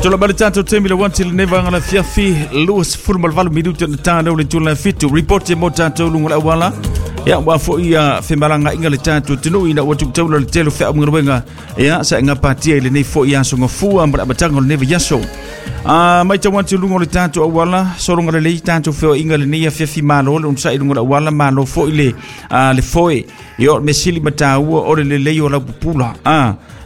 Tula mai le tatou taimi le 1 lenei vaega le afiafi 28 minute na tānau le tula 7 report e mo tatou luga o le auala. Ia ua foi ia femalagaaiga le tatou atunuu ina ua tuutaula le tele o feaugaluega ia sa e gapatia i lenei foi aso gafua ma le amataga o lenei vaiaso. A matau atu i luga o le tatou auala, sologa lelei tatou feoaiga lenei afiafi, malo le onosai i luga o le auala, malo foi le, le foe. Ia o le mea sili ma taua o le lelei o lau pupula.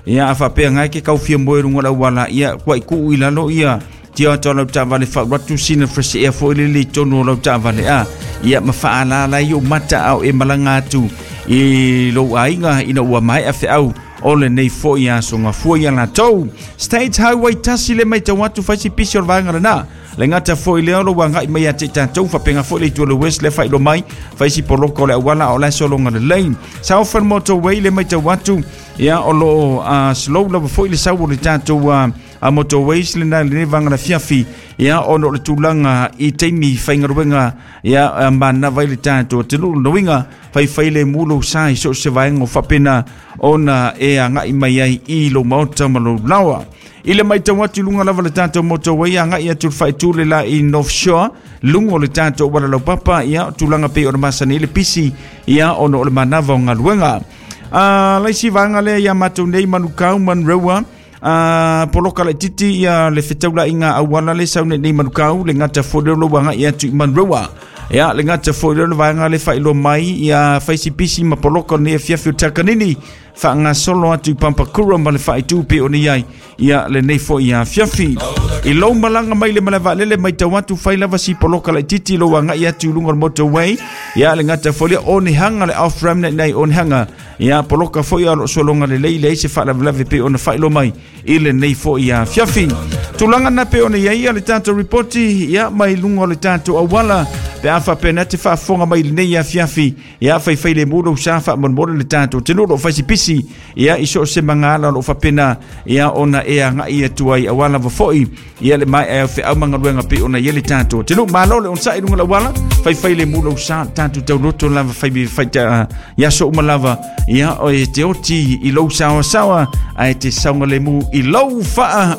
Ia a faapea ngai ke kau fia moe luga o le auala, ia kuai tuu i lalo ia tia atu lau taavale faaulu sina fresh air foi lele i totonu o lau taavale a ia ma faalala ai ou mata ao e malaga atu i lou aiga ina ua maea feau o lenei foi aso gafua ia latou. State Highway 1 le matau atu fai si pisi o le vaega lena. Le gata foi lea o lo agai mai ia te tatou faapena foi le itu o le West le faailoa mai fai si poloka o le auala o la e sologa lelei. Southern Motorway le matau atu ia o lo o slow lava foi le sau o le tatou a motorways lena i lenei vaega afiafi ia ona o le tulaga i taimi faigaluega ia manava ai le tatou atunuu. Lona uiga faifai le mu lou sa i so o se vaega o faapena ona e agai mai ai i lou maota ma lou laoa. I le matau atu i luga lava le tatou motorway agai atu le faaitu le la i North Shore, luga o le tatou auala laupapa, ia tulaga pei ona masani ai le pisi ia ona o le manava o galuega. Laisi vaega lea ia matou nei Manukau Monroe poloka laititi ia le fetaulaiga auala le sau nei nei Manukau le gata foi lea o lou agai atu i Monroe. Ia le gata foi lea o le vaega le faailoa mai ia faisi pisi ma poloka o lenei afiafi o Takanini faagasolo atu i Pampakura ma le faaitu pei ona i ai ia lenei foi afiafi. I lou malaga mai le malae vaalele matau atu fai lava si poloka laititi lou agai atu i luga o le motorway ia le gata foi lea Onehunga le off ramp nei Onehunga ia poloka foi o lo o sologa lelei leai se faalavelave pei ona faailoa mai i lenei foi afiafi. Tulaga na pei ona i ai le tatou ripoti ia mai luga o le tatou auala pe a faapena te faafofoga mai i lenei afiafi ia faifai le mu lou sa faamolemole le tatou atunuu o lo o faisipisi ia i so o se magaala o lo o faapena ia ona e agai atu ai aua lava foi ia le maea o feau ma galuega pei ona i ai le tatou atunuu. Malo le onosai i luga o le auala, faifai le mu lou sa, tatou tauloto lava fai fai ia aso uma lava ia o e te oti i lou saoasaoa ae te saogalemu i lou faa.